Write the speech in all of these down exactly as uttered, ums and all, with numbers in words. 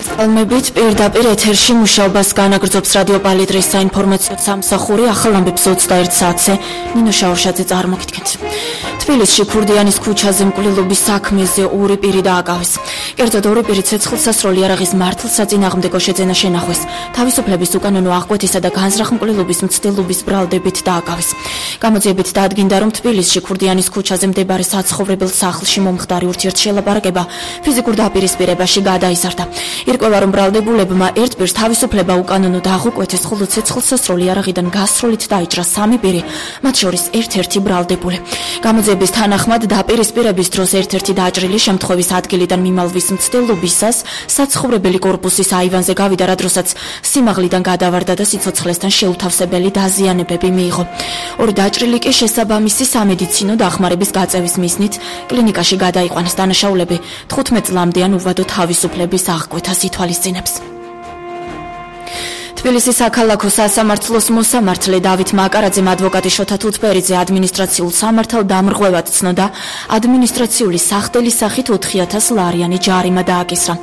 ალბომებით პირდაპირ ეთერში მუშაობას განაგრძობს რადიო პალიტრის საინფორმაციო სამსახური. ახალ ამბებს ოცდაერთ საათზე ნინო შაურშაძე წარმოგიდგენთ. თბილისში ქურდიანის ქუჩაზე მკვლელობის საქმეზე ორი პირი დააკავეს. კერძოდ ორი პირი ცეცხლსასროლი იარაღის მართლსაწინააღმდეგო შეძენა შენახვეს. თავისუფლების უკანონო აღკვეთისა და განზრახ მკვლელობის მცდელობის ბრალდებით დააკავეს. გამოძიებით დაადგინდა, რომ თბილისში ქურდიანის ქუჩაზე მდებარე საცხოვრებელ სახლში მომხდარი ურთიერთშელაპარაკება ფიზიკურ დაპირისპირებაში გადაიზარდა. ირკვევა, რომ ბრალდებულებმა ერთ პირს თავისუფლება უკანონო დაღუკვეთეს, ხოლო ცეცხლსასროლი იარაღიდან გასროლით დაიჭრა სამი პირი, მათ შორის ერთ-ერთი ბრალდებული. გამოძიების თანახმად დაპირისპირების დროს ერთ-ერთი დაჭრილი შემთხვევის ადგილიდან მიმალვის მცდელობისას საცხოვრებელი კორპუსის აივანზე გავიდა, რა დროსაც სიმაღლიდან გადავარდა და სიცოცხლესთან შეუთავსებელი დაზიანებები მიიღო. ორი დაჭრილი კი შესაბამისი სამედიცინო დახმარების გაწევის მიზნით კლინიკაში გადაიყვანეს. დანაშაულები თხუთმეტ წლამდე ან უვადო თავისუფლების აღკვეთას ითვალისწინებს. თბილისის საქალაქო სასამართლოს მოსამართლე დავით მაკარაძემ ადვოკატი შოთა თუთბერიძე ადმინისტრაციულ სამართალ დამრღვევად ცნოდა ადმინისტრაციული სახდელის სახით ოთხი ათას ლარიანი ჯარიმა დააკისრა.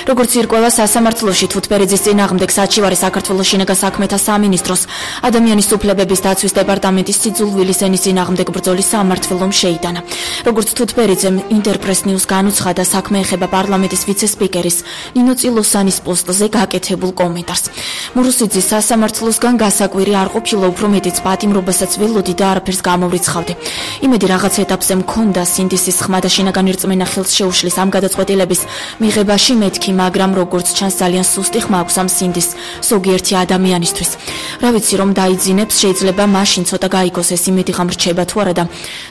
როგორც ირკვევა, სასამართლოში თუთბერიძის წინააღმდეგ საჩივარი საქართველოს შინაგან საქმეთა სამინისტროს ადამიანის უფლებების დაცვის დეპარტამენტის სიძულვილის ენის წინააღმდეგ ბრძოლის სამმართველომ შეიტანა. როგორც თუთბერიძემ ინტერპრეს ნიუს განუცხადა, საქმე ეხება პარლამენტის ვიცე-სპიკერის ნინო წილოსანის პოსტზე გაკეთებულ კომენტარს. მურუსიძის სასამართლოსგან გასაკვირი არ ყოფილა, უფრო მეტიც პატიმრობასაც ველოდი და არაფერს გამოვრიცხავდი. იმედი რაღაც ეტაპზე მქონდა სინდისის ხმა და შინაგანი რწმენა ხელს შეუშლის ამ გადაწყვეტილების მიღებაში მეთქი, მაგრამ როგორც ჩანს ძალიან სუსტი ხმა აქვს ამ სინდის ზოგიერთი ადამიანისთვის. რა ვიცი, რომ დაიძინებს, შეიძლება მაშინ ცოტა გაიგოს ეს იმედი ღამრჩება თუ არა და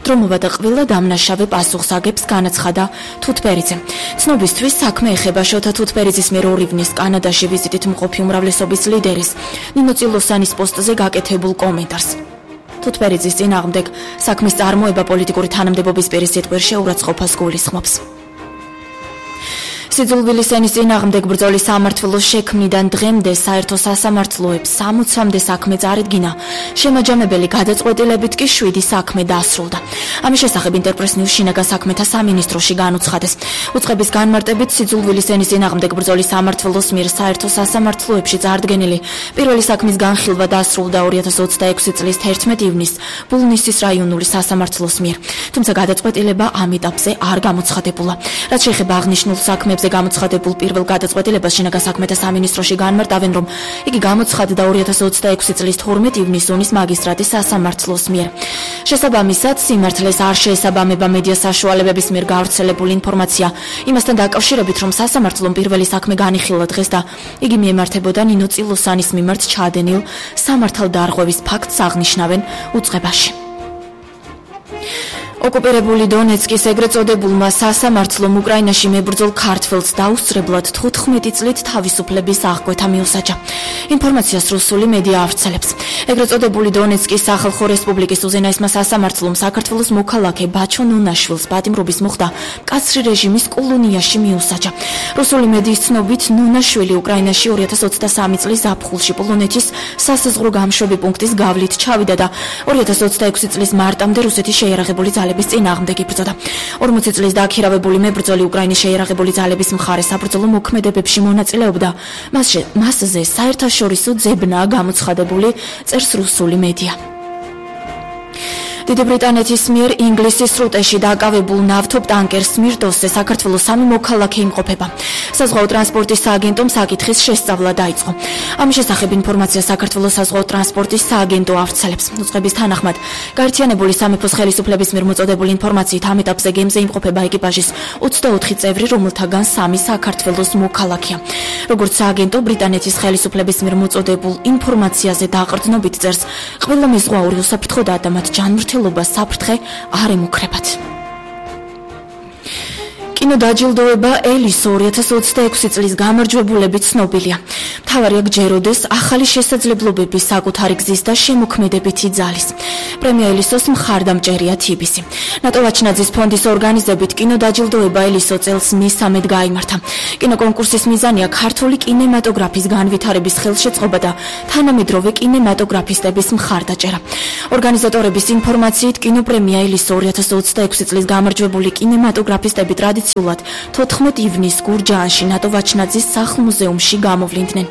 დრომობა და ყველა დამნაშავე პასუხს აგებს, განაცხადა თუთბერიძე. ცნობისთვის საქმე ეხება შოთა თუთბერიძის მიერ ორივნის კანადაში ვიზიტით მყოფი უმრავლესობის ლიდერის ნინო წილოსანის პოსტზე გაკეთებულ კომენტარს. თუთბერიძის წინააღმდეგ საქმის წარმოება პოლიტიკური თანამდებობის პირის სიტყვით შეურაცხყოფას გულისხმობს. სიძულვილის ენის წინააღმდეგ ბრძოლის სამმართველოს შექმნიდან დღემდე საერთო სასამართლოებს სამოცამდე საქმე წარიდგინა. შემაჯამებელი გადაწყვეტილებით კი შვიდი საქმე დასრულდა. ამის შესახებ ინტერპრეს ნიუს შინაგან საქმეთა სამინისტროში განუცხადეს. უწყების განმარტებით სიძულვილის ენის წინააღმდეგ ბრძოლის სამმართველოს მიერ საერთო სასამართლოებში წარდგენილი პირველი საქმის განხილვა დასრულდა ორი ათას ოცდაექვსი წლის თერთმეტ ივნისს ბულნისის რაიონული სასამართლოს მიერ. თუმცა გადაწყვეტილება ამ ეტაპზე არ გამოცხადებულა. რაც შეეხება აღნიშნულ საქმეებს გამოცხადებულ პირველ გადაწყვეტილებას შინაგან საქმეთა სამინისტროში განმარტავენ, რომ იგი გამოცხადდა ორი ათას ოცდაექვსი წლის თორმეტ ივნისს ონის მაგისტრატის სასამართლოს მიერ. შესაბამისად, სიმართლეს არ შეესაბამება მედია საშუალებების მიერ გავრცელებული ინფორმაცია იმასთან დაკავშირებით, რომ სასამართლომ პირველი საქმე განიხილა დღეს და იგი მიემართებოდა ნინო წილოსანის მიმართ ჩაადენილ სამართალდარღვევის ფაქტს აღნიშნავენ უწყებაში. ოკუპირებული დონეცკის ეგრეთ წოდებულმა სასამართლომ უკრაინაში მებრძოლ ქართველს დაუსწრებლად თხუთმეტი წლით თავისუფლების აღკვეთა მიუსაჯა. ინფორმაციას რუსული მედია ავრცელებს. ეგრეთ წოდებული დონეცკის სახალხო რესპუბლიკის უზენაესმა სასამართლომ საქართველოს მოქალაქე ბაჩო ნუნაშვილს პატიმრობის მოხდა მკაცრი რეჟიმის კოლონიაში მიუსაჯა. რუსული მედიის ცნობით, ნუნაშვილი უკრაინაში ორი ათას ოცდასამი წლის ზაფხულში პოლონეთის სასაზღვრო გამშვები პუნქტის გავლით ჩავიდა და ორი ათას ოცდაექვსი წლის მარტამდე რუსეთის შეიარაღებული ძალების წინააღმდეგ იბრძოდა. ორმოცი წლის დააქირავებული მებრძოლი უკრაინის შეიარაღებული ძალების მხარე საბრძოლო მოქმედებებში მონაწილეობდა. მასზე მასზე საერთაშორისო ძებნაა გამოცხადებული, წერს რუსული მედია. დიდი ბრიტანეთის მიერ ინგლისის სრუტეში დაკავებულ ნავთობ ტანკერს სმირდოსზე საქართველოს სამი მოქალაქე იმყოფება. საზღვაო ტრანსპორტის სააგენტომ საკითხის შესწავლა დაიწყო. ამის შესახებ ინფორმაცია საქართველოს საზღვაო ტრანსპორტის სააგენტო ავრცელებს. უწყების თანახმად, გაერთიანებული სამეფოს ხელისუფლების მიერ მოწოდებული ინფორმაციით ამ ეტაპზე გემზე იმყოფება ეკიპაჟის ოცდაოთხი წევრი, რომელთაგან სამი საქართველოს მოქალაქეა. როგორც სააგენტო ბრიტანეთის ხელისუფლების მიერ მოწოდებულ ინფორმაციაზე დაყრდნობით წერს, ყველა მეზღვაური უსაფრთხოდაა და მათ ჯანმრთელობა საფრთხე არ ემუქრებათ. კინოდაჯილდოება ელისო ორი ათას ოცდაექვსი წლის გამარჯვებულებით ცნობილია. მთავარი აქ ჯეროდეს ახალი შესაძლებლობების საკუთარი გზის და შემოქმედებითი ძალის. პრემია ელისოს მხარდამჭერია თიბისი. ნატო ვაჩნაძის ფონდის ორგანიზებით კინოდაჯილდოება ელისო წელს მესამედ გაიმართა. კინოკონკურსის მიზანია ქართული კინემატოგრაფის განვითარების ხელშეწყობა და თანამედროვე კინემატოგრაფისტების მხარდაჭერა. ორგანიზატორების ინფორმაციით კინოპრემია ელისო ორი ათას ოცდაექვსი წლის გამარჯვებული კინემატოგრაფისტები ტრადიციულად ადმინისტრაციულად თოთხმეტ ივნისს გურჯაანში ნატო ვაჩნაძის სახლ-მუზეუმში გამოვლინდნენ.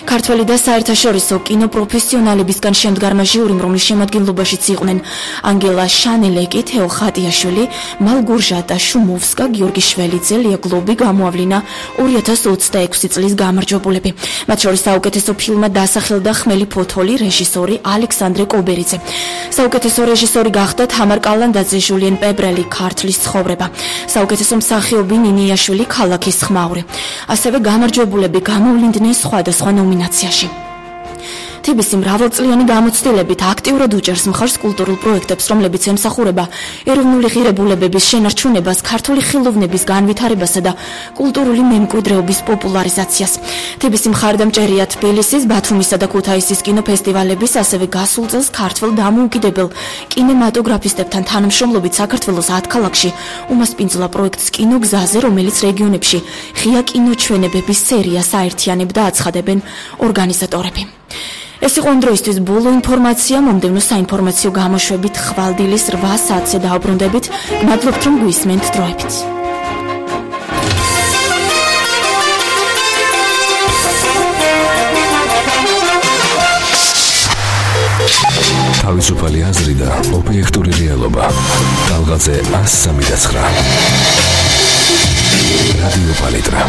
ქართველი და საერთაშორისო კინოპროფესიონალებისგან შემდგარმა ჟიურიმ, რომლის შემადგენლობაშიც იყვნენ ანგელა შანელეკი, თეო ხატიაშვილი, მალგურჟატა შუმოვსკა, გიორგი შველიძე, ლია გლობი გამოავლინა ორი ათას ოცდაექვსი წლის გამარჯვებულები. მათ შორის საუკეთესო ფილმად დასახელდა ხმელი ფოთოლი, რეჟისორი ალექსანდრე კობერიძე. საუკეთესო რეჟისორი გახდა თამარ კალანდაძე, ჟულიენ პებრელი, ქართლის ცხოვრება. საუკეთესო მსახიობი ნინიაშვილი, ქალაქის ხმაური. ასევე გამარჯვებულები გამოვლინდნენ სხვადასხვა ნომინაციაში. თბილისის მრავალწლიანი გამოცდილებით აქტიურად უჭერს მხარს კულტურულ პროექტებს, რომლებიც ემსახურება ეროვნული ღირებულებების შენარჩუნებას, ქართული ხილოვნების განვითარებასა და კულტურული მემკვიდრეობის პოპულარიზაციას. თბილისის მხარდამჭერია თბილისის, ბათუმისა და ქუთაისის კინოფესტივალების, ასევე გასულ წელს ქართველ დამოუკიდებელ კინემატოგრაფისტებთან თანამშრომლობით საქართველოს ათ ქალაქში უმასპინძლა პროექტს კინოგზაზე, რომელიც რეგიონებში ღია კინოჩვენებების სერიას აერთიანებდა, აცხადებენ ორგანიზატორები. ეს იყო ამ დროისთვის ბოლო ინფორმაცია. მომდევნო საინფორმაციო გამოშვებით ხვალდილის რვა საათზე დაუბრუნდებით. მადლობთ, რომ გვისმენთ დროებით. თავისუფალი აზრი და ობიექტური რეალობა. ტალღაზე ასი სამი და ცხრა. რადიო პალიტრა.